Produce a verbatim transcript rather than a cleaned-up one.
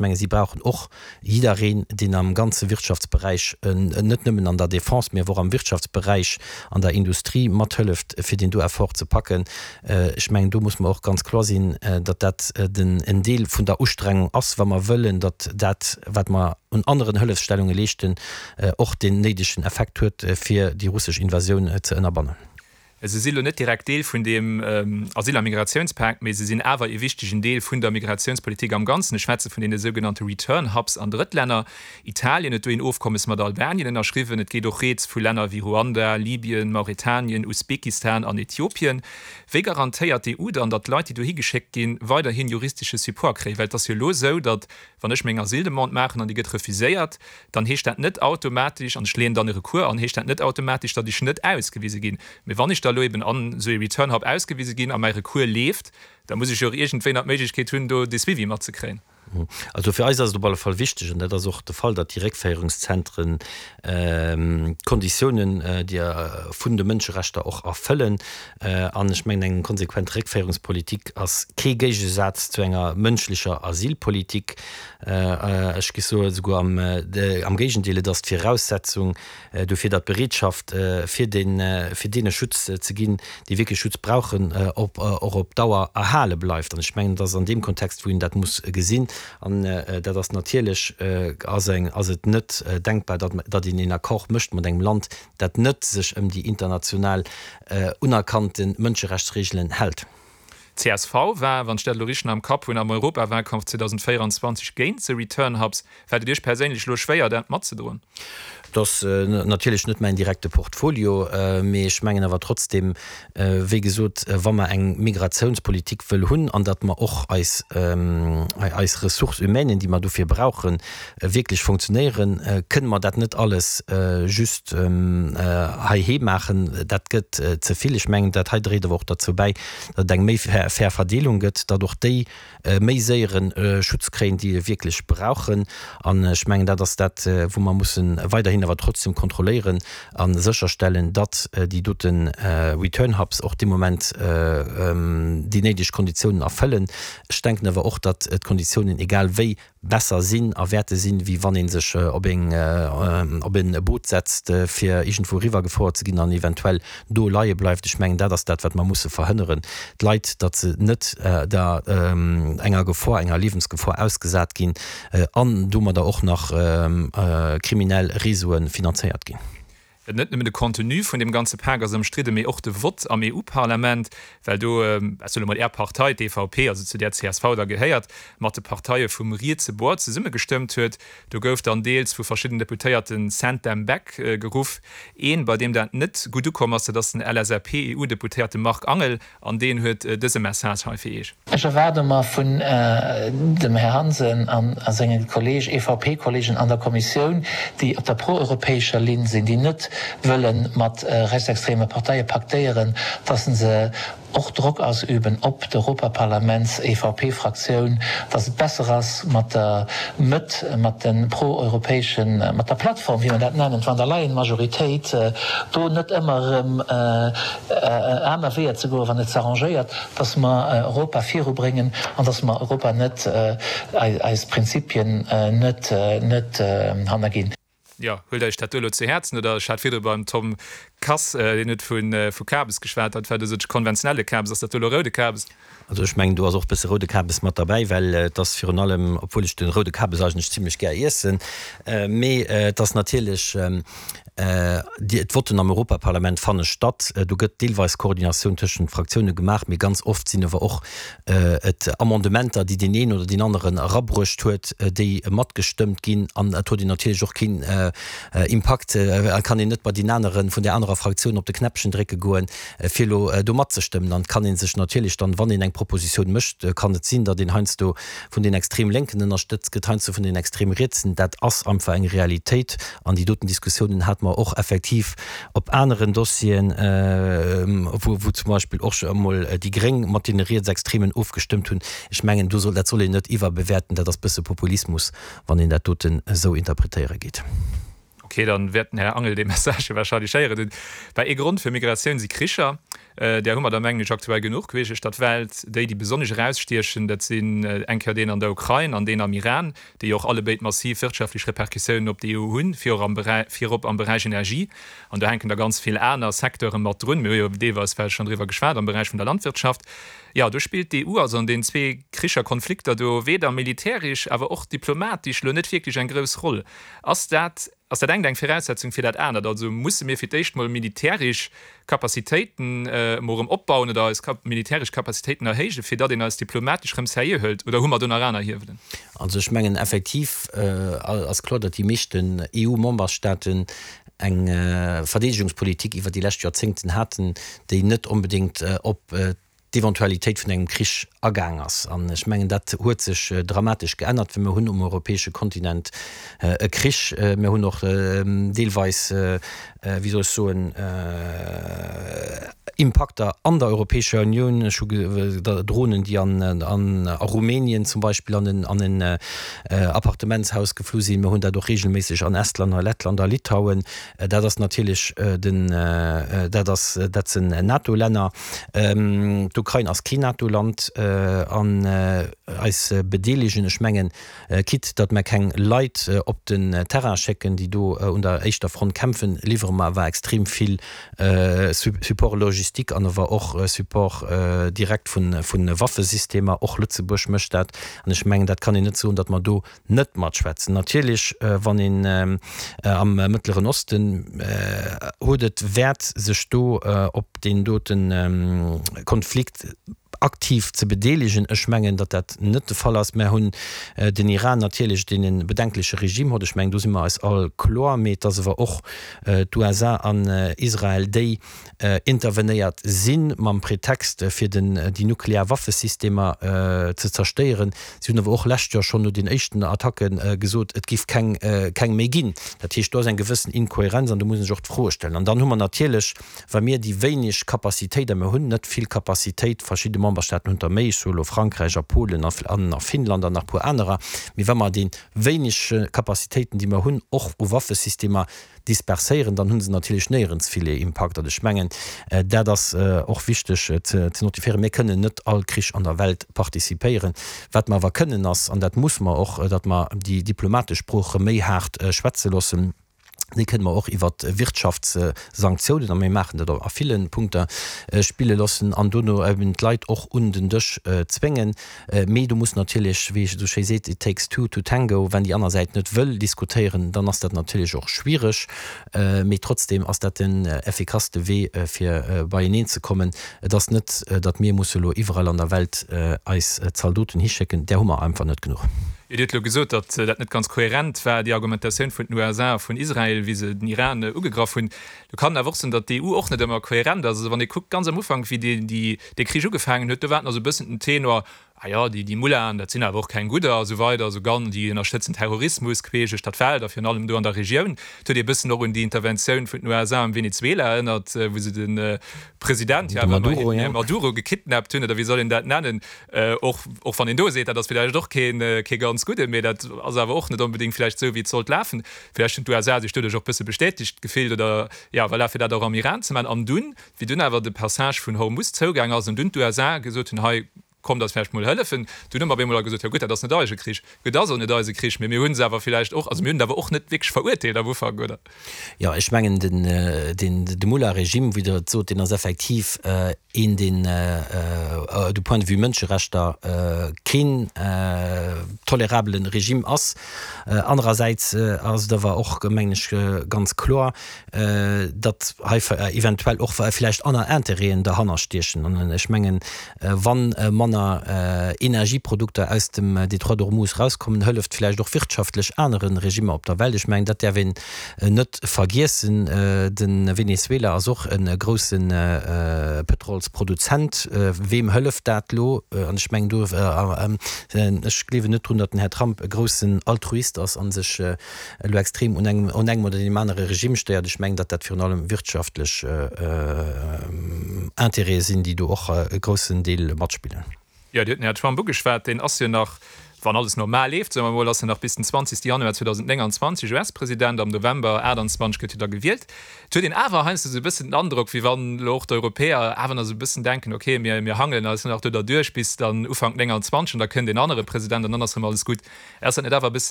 menge si brauchen och jiddereen, deen am ganze Wirtschaftsberäich, net nëmmen an der Defense, mee awer och am Wirtschaftsberäich, an der Industrie mathëlleft, fir deen do Effort ze packen. Ech mengen, do muss mer och ganz kloer sinn, datt dat den en Deel vun der Ustrengung ass, wa mer wëllen, datt dat, wat mer un aneren Hëllefsstellunge leeschten, och deen néidegen Effekt huet, fir déi russesch Invasioun ze ënnerbannen. Se si lo net direkt Deel vun deem Asyl a Migratiounspak, mee se sinn awer ee wichtegen Deel vun der Migratiounspolitik am Ganzen. Ech schwätze vun deene sougenannte Return Hubs an Drëttlänner. Italien huet do een Ofkommes mat Albanien ënnerschriwwen. Et geet och rieds vu Länner wéi Ruanda, Libyen, Mauretanien, Usbekistan an Äthiopien. Wéi garantéiert d'E U dann, datt d'Leit, déi dohi geschéckt ginn, weiderhin juristesche Support kréien? Well et ass jo elo esou, datt wann ech meng Asyldemande maachen an déi gëtt refuséiert, dann heescht dat net automatesch, an ech leeën dann e Recours an, heescht dat net automatesch, datt ech net ausgewise ginn. Mee wann ech da elo eben an esou ee Return Hub ausgewise ginn a mäi Recours leeft, da muss ech jo och iergendwéi nach d'Méiglechkeet hunn, do de Suivi matzekréien. Also fir eis ass et op alle Fall wichteg, an dat ass och de Fall, datt déi Réckféierungszentren d'Konditiounen, déi vun de Mënscherechter och erfëllen. An ech mengen, eng konsequent Réckféierungspolitik ass kee Géigesaz zu enger mënschlecher Asylpolitik. Ech géif soen, esouguer am Géigendeel, et ass d'Viraussetzung dofir, datt d'Bereetschaft, fir fir deene Schutz ze ginn, déi wierklech Schutz brauchen, och op Dauer erhale bleift. An ech mengen, et ass an deem Kontext, wou een dat muss gesinn. An dat ass natierlech, ass eng, ass et net denkbar, datt, datt een een Accord mécht mat engem Land, dat net sech ëm déi international unerkannte Mënscherechtsregelen hält. Csv war, wann ech dat elo richteg am Kapp hunn, am Europawahlkampf zweedausendvéierenzwanzeg géint se Return Hubs. Fält et Iech perséinlech elo schwéier, dat matzedroen? Et ass natierlech net mäin direkte Portfolio, mee ech mengen awer trotzdem, wéi gesot, wa mer eng Migratiounspolitik wëll hunn an datt mer och eis, eis Ressources humaines, déi mer dofir brauchen, wierklech funktionéieren, kënne mer dat net alles just heiheem maachen. Dat gëtt ze vill. Ech mengen, dat hei dréit awer och derzou bäi, datt et eng méi fair Verdeelung gëtt, datt och déi méi séiere Schutz kréien, déi e wierklech brauchen. An ech mengen, dat ass dat, wou mer mussen weiderhin awer trotzdem kontrolléieren a sécherstellen, datt déi dote Return Hubs och dee Moment déi néideg Konditiounen erfëllen. Ech denken awer och, datt d'Konditiounen egal wéi besser sinn a wäerte sinn, wéi wann ee sech op eng op e Boot setzt, fir iergendwou eriwwergefouert ze ginn an eventuell do leie bleift. Ech mengen, dat ass dat, wat mer musse verhënneren, d'Leit, datt se net der enger Gefor, enger Liewensgefor ausgesat ginn an domadder och nach kriminell Réseaue finanzéiert ginn. Net nëmmen de Contenu vun deem ganze Pak ass ëmstridden, mee och de Vott am E U-Parlament, well do, ech soe mol, Är Partei, d'E V P, also zu där d'C S V da gehéiert, mat de Parteie vum rietse Bord zesummegestëmmt huet. Do gouf dann deels vu verschiddenen Deputéierten „Send them back“ geruff. Een, bei deem dat net gutt ukomm ass, dat ass den L S A P-E U-Deputéierte Marc Angel, an deen huet dëse Message hei fir Iech. Ech erwaarde mer vun dem Här Hansen a senge Kolleeg, E V P-Kolleegen an der Kommissioun, déi op der proeuropäescher Linn sinn, déi net wëlle mat rechtsextreme Parteie paktéieren, dass se och Drock ausüben op d'Europaparlaments-E V P-Fraktioun, dass et besser ass mat der Mëtt, mat de proeuropäeschen, mat der Plattform, wéi mer dat nennen, d'Van der Leyen-Majoritéit, do net ëmmer erëm aner Weeër ze goen, wann et se arrangéiert, dass mer Europa virubréngen an dass mer Europa net, eis Prinzipien net, net hannerginn. Jo, huelt Iech dat do elo zu Häerzen, oder ech hat virdru beim Tom Kass, deen huet vu vu Kabes geschwat, dat war do sou de konventionelle Kabes, ass dat do elo roude Kabes? Also ech mengen, do ass och e bësse roude Kabes mat derbäi, well et ass virun allem, obwuel ech de roude Kabes eigentlech zimlech gär iessen, mee et ass natierlech, d'Votten am Europaparlament fanne statt, do gëtt deelweis Koordinatioun tëschent Fraktioune gemaach, mee ganz oft sinn awer och et Amendementer, déi deen een oder deen aneren erabruecht huet, déi matgestëmmt ginn. An et huet een natierlech och keen Impakt, a kann een net bei deen anere vun där anerer Fraktioun op de Knäppchen drécke goen, fir elo do matzestëmmen. An et kann ee sech natierlech dann, wann een eng Propositioun mécht, kann et sinn, datt een heiansdo vun den extrem Lénken ënnerstëtzt gëtt, heiansdo vun den extrem Rietsen. Dat ass einfach eng Realitéit. An déi doten Diskussiounen hate mer och effektiv op aneren Dossieren, wou wou zum Beispill och emol déi Gréng mat deene Rietsextremen ofgestëmmt hunn. Ech mengen, do soll, dat soll een net iwwerbewäerten. Dat ass bësse Populismus, wann een dat doten esou interpretéiere geet. Ok, dann wäert den Här Angel dee Message warscheinlech héieren hunn. Well ee Grond fir Migratioun si Kricher. Där hu mer der, mengen ech, aktuell genuch queesch duerch d'Welt. Déi, déi besonnesch erausstiechen, dat sinn eng Kéier deen an der Ukrain an deen am Iran, déi och allebéid massiv wirtschaftlech Repercussiounen op d'EU hunn, virop am Beräich Energie. An do hänken da ganz vill aner Secteure mat drun. Mir hu jo deelweis vläicht schonn driwwer geschwat am Beräich vun der Landwirtschaft. Jo, do spillt d'EU also an deenen zwee Kricher, Konflikter do weder militäresch, awer och diplomatesch elo net wierklech eng grouss Roll. Ass dat, ass dat engt eng Viraussetzung fir dat anert? Also musse mir fir d'éischt mol militäresch Capacitéiten emol erëm opbauen oder eis militäresch Capacitéiten erhéijen, fir datt een eis diplomatesch erëm seriö hëlt? Oder hu mer do nach aner Hiewelen? Also ech mengen effektiv ass kloer, datt déi meeschten EU-Memberstaaten eng Verdeedegungspolitik iwwer déi lescht Joerzéngten haten, déi net onbedéngt op d'Eventualitéit vun engem Krich agaang ass. An ech mengen, dat huet sech dramatesch geännert, well mir hunn um europäesche Kontinent e Krich. Mir hunn och deelweis, wéi soll ech soen, Impakter an der Europäescher Unioun. Ech hu Dronen, déi an a Rumänien zum Beispill an en an en Appartementshaus geflu sinn. Mir hunn dat och regelméisseg an Estland, a Lettland a Litauen. Dat ass natierlech den, dat ass, dat sinn NATO-Länner. D'Ukrain ass keen NATO-Land an eis bedeelegen, ech mengen, quitte datt mer keng Leit op den Terrain schécken, déi do un der éischter Front kämpfen, liwwere mer awer extrem vill Support logistique an awer och Support direkt vu Waffesystemer. Och Lëtzebuerg mécht dat. An ech mengen, dat kann een net soen, datt mer do net matschwätzen. Natierlech, wann een am Mëttleren Osten huet et Wäert, sech do op deen dote Konflikt aktiv ze bedeelegen. Ech mengen, datt dat net de Fall ass. Mär hunn den Iran natierlech, deen e bedenkleche Regime huet. Ech mengen, do si mer eis all kloer. Mee et ass awer och d'USA an Israel, déi intervenéiert si mam Pretext, fir den déi nuklear Waffesystemer ze zerstéieren. Si hunn awer och lescht Joer schonn no den éischten Attacke gesot, et giff keng keng méi ginn. Dat heescht, do ass eng gewëssen Inkohärenz an do muss een sech och d'Froe stellen. An dann hu mer natierlech, wa mir déi wéineg Capacitéit, a mir hunn net vill Capacitéit, verschidde Memberstaaten hunn der méi, ech soe elo Frankräich a Polen a a Finnland an nach e puer anerer, mee wa mer déi wéineg Capacitéiten, déi mer hunn, och u Waffesystemer disperséieren, dann hu se natierlech néierens vill Impakt. An ech mengen, dat ass och wichteg ze notifiéieren, Mir kënnen net all Krich an der Welt participéieren. Wat mer awer kënnen ass, an dat muss mer och, datt mer déi diplomatesch Sprooch erëm méi haart schwätze loossen. Déi kënne mer och iwwer Wirtschaftssanktiounen, a mir maachen dat a ville Punkter, spille loossen an dono eben d'Leit och un den Dësch zwéngen. Mee do muss natierlech, wéi ee esou schéi seet, it takes two to tango, wann déi aner Säit net wëll diskutéieren, dann ass dat natierlech och schwiereg. Mee trotzdeem ass dat den effikasste Wee, fir beieneen ze kommen. Et ass net, datt mir musse elo iwwerall an der Welt eis Zaldoten hischécken, där hu mer einfach net genuch. Dir hutt elo gesot, datt dat net ganz kohärent war, déi Argumentatioun vun den USA a vun Israel, wéi se den Iran ugegraff hunn. Do kann een awer och soen, datt d'EU och net ëmmer kohärent ass. Also wann ee kuckt, ganz am Ufank, wéi dee Krich ugefaangen huet, do war et nach esou e bëssen den Tenor, Ah jo, déi Mullahen, dat sinn awer och keng Gudder a sou weider, esou ganz, déi ënnerstëtzen Terrorismus queesch duerch d'Welt a virun allem do an der Regioun. Et huet ee bëssen och un déi Interventioun vun den USA am Venezuela erënnert, wou se de President, jo awer ëmmerhin, Maduro gekidnappt hunn, oder wéi soll een dat nennen, och, och wann een do seet, dat ass villäicht och keen, kee ganz Gudden, mee dat ass awer och net onbedéngt villäicht esou, wéi et sollt lafen. Villäicht hunn d'USA sech doduerch och bësse bestätegt gefillt oder, jo, voilà, fir dat och am Iran ze maachen. An dunn, wéi dunn awer de Passage vun Hormuz zougaang ass an dunn d'USA gesot hunn, hei, kommt eis vläicht mol hëllefen. Dunn hu mer op eemol all gesot, jo gutt, dat ass net eise Krich. Gutt, et ass och net eise Krich, mee mir hu se awer vläicht och, also mir hunn et awer och net wierklech verurteelt am Ufank, oder? Jo, ech mengen, den, den, de Mullah-Regime, wéi Der et sot, deen ass effektiv een, deen du point de vue Mënscherechter keen tolerabele Regime ass. Anerersäits ass et awer och, mengen ech, ganz kloer, datt hei eventuell och vläicht aner Intérêten derhanner stiechen. An ech mengen, wa manner Energieprodukter aus dem Détroit d'Ormuz erauskommen, hëlleft vläicht och wirtschaftlech anere Regimmer op der Welt. Ech mengen, dat däerf een net vergiessen. De Venezuela ass och e grousse Pëtrolsproduzent. Weem hëlleft dat elo? An ech mengen do, ech gleewen net drun, datt den Här Trump e groussen Altruist ass a sech elo extrem un engem un engem oder deem anere Regime stéiert. Ech mengen, datt dat virun allem wirtschaftlech Intérêtë sinn, déi do och e groussen Deel matspillen. Jo, Dir hutt den Här Trump ugeschwat. Deen ass jo nach wann alles normal leeft, soe mer mol, ass en nach bis den zwanzegste Januar zweedausendnénganzwanzeg U S-President, am November aachtanzwanzeg gëtt hie da gewielt. Et huet een awer heiansdo esou e bëssen den Androck, wéi wann elo och d'Europäer awer nach esou e bëssen denken, okay, mir, mir hangelen eis nach do derduerch bis dann Ufank nénganzwanzeg an da kënnt een anere President an dann ass erëm alles gutt. Ass dat net awer e bëssen